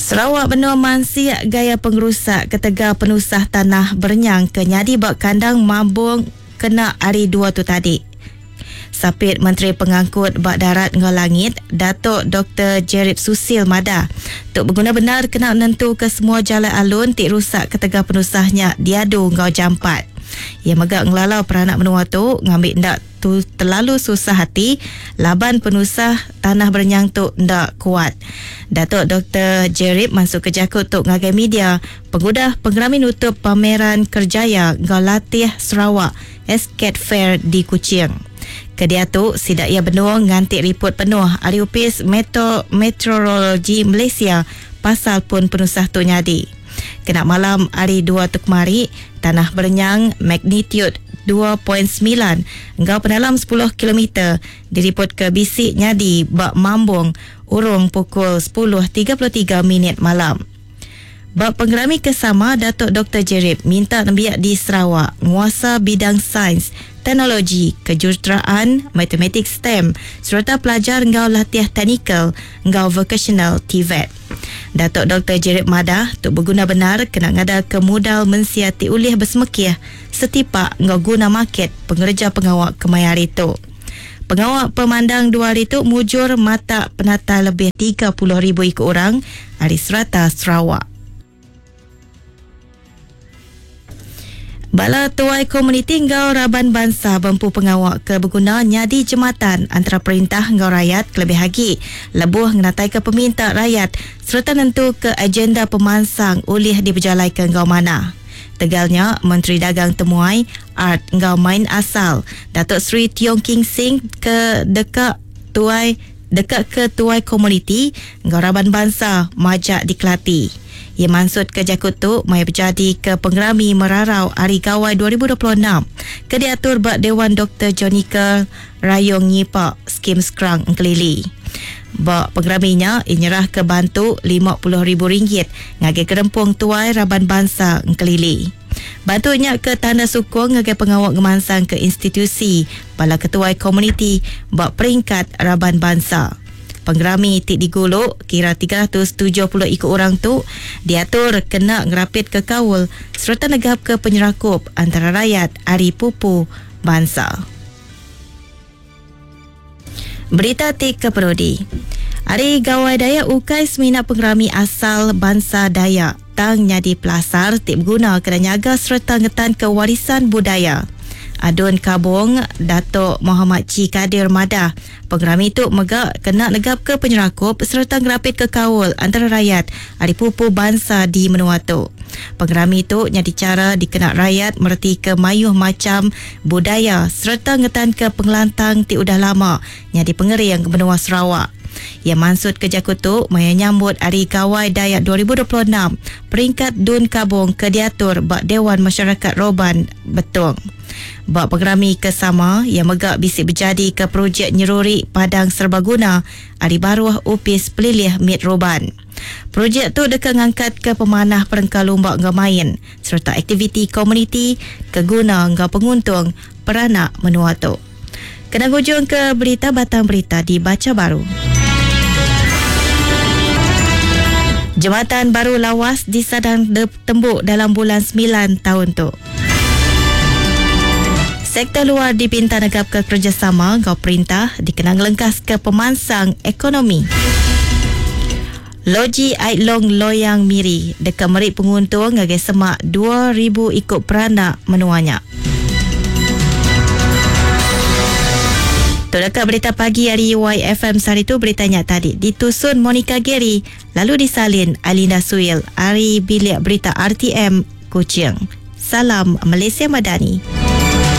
Sarawak benung mansik gaya pengerusak ketegal penusah tanah berenyang ke nyadi ba kandang Mambong kena Hari Dua tu tadi. Sapit Menteri Pengangkut ba Darat enggau Langit, Datuk Doktor Jerip Susil madah, tu beguna bendar kena nentuka semua jalai alun ti rusak ketegal penusah nya diadu enggau jampat. Iya mega ngelalau peranak menua tu ngambi enda tu terlalu susah ati laban penusah tanah berenyang tu enda kuat. Datuk Doktor Jerip mansutka jaku tu ngagai media pengudah pengerami nutup Pameran Kerjaya enggau Latih Sarawak SCAT Fair di Kuching. Ke diatu sida iya benung nganti riput penuh ari Opis Meto Meteorologi Malaysia pasal pun penusah tu nyadi. Kena malam hari Dua tu kemari, tanah berenyang magnitude 2.9 enggau penalam 10 kilometer diripotka bisi nyadi ba Mambong urung pukul 10.33 minit malam. Ba pengerami ke sama, Datuk Doktor Jerip minta nembiak di Sarawak nguasa bidang sains, teknologi, kejuruteraan, matematik STEM sereta pelajar enggau latih teknikal enggau vokasional TVET. Datuk Doktor Jerip madah, tu beguna bendar kena ngadaka mudal mensia ti ulih besemekih setipak enggau guna market pengereja pengawa kemaya hari tu. Pengawa pemandang dua hari tu mujur matak penatai lebih 30,000 iku orang ari serata Sarawak. Bala tuai komuniti enggau raban bansa bempu pengawa ke beguna nyadi jematan antara perintah enggau rayat kelebih agi lebuh ngenataika peminta rayat sereta nentuka agenda pemansang ulih dipejalaika enggau manah. Tegal nya, Menteri Dagang Temuai, Art enggau Main Asal, Datuk Seri Tiong King Sing ke deka tuai deka ke tuai komuniti enggau raban bansa majak dikelati. Iya mansutka jaku tu maya bejadika Pengerami Merarau Hari Gawai 2026 ke diatur ba Dewan Doktor Johnical Rayong Nyipa, Skim Skrang Engkelili. Ba pengerami nya, iya nyerahka bantu RM50,000 ngagai Gerempung Tuai Raban Bansa Engkelili. Bantu nya ke tanda sukung ngagai pengawa ngemansangka institusi bala ketuai komuniti ba peringkat raban bansa. Pengerami ti digulu kira 370 iku orang tu diatur kena ngerapitka kaul sereta negapka penyerakup antara rayat ari pupu bansa. Berita ti keperudi. Hari Gawai Dayak ukai semina pengerami asal bansa Dayak tang nyadi pelasar ti beguna kena nyaga sereta ngetanka warisan budaya. Adun Kabong, Datuk Mohamad Chee Kadir madah, pengerami tu mega kena negapka penyerakup sereta ngerapitka kaul antara rayat ari pupu bansa di menua tu. Pengerami tu nyadi chara dikena rayat meretika mayuh macham budaya sereta ngetanka pengelantang ti udah lama nyadi pengering menua Sarawak. Iya mansutka jaku tu maya nyambut Hari Gawai Dayak 2026 peringkat Dun Kabong ke diatur ba Dewan Masyarakat Roban, Betong. Ba pengerami ke sama, iya mega bisi bejadika projek nyeruri Padang Serbaguna ari baruh Opis Pelilih Mit Roban. Projek tu deka ngangkatka pemanah perengka lumba enggau main sereta aktiviti komuniti ke guna enggau penguntung peranak menua tu. Kena ngujungka berita batang berita dibacha baru. Jematan baru Lawas disadang tembu dalam bulan semilan taun tu. Sektor luar dipinta negapka kerejasama enggau perintah dikena ngelengkaska pemansang ekonomi. Loji Ai Long Loyang Miri deka meri penguntung ngagai semak 2000 iku peranak menua nya. Tu deka berita pagi ari YFM sehari tu berita nya tadi ditusun Monica Gary lalu disalin Alinda Suil ari Bilik Berita RTM Kuching. Salam Malaysia Madani.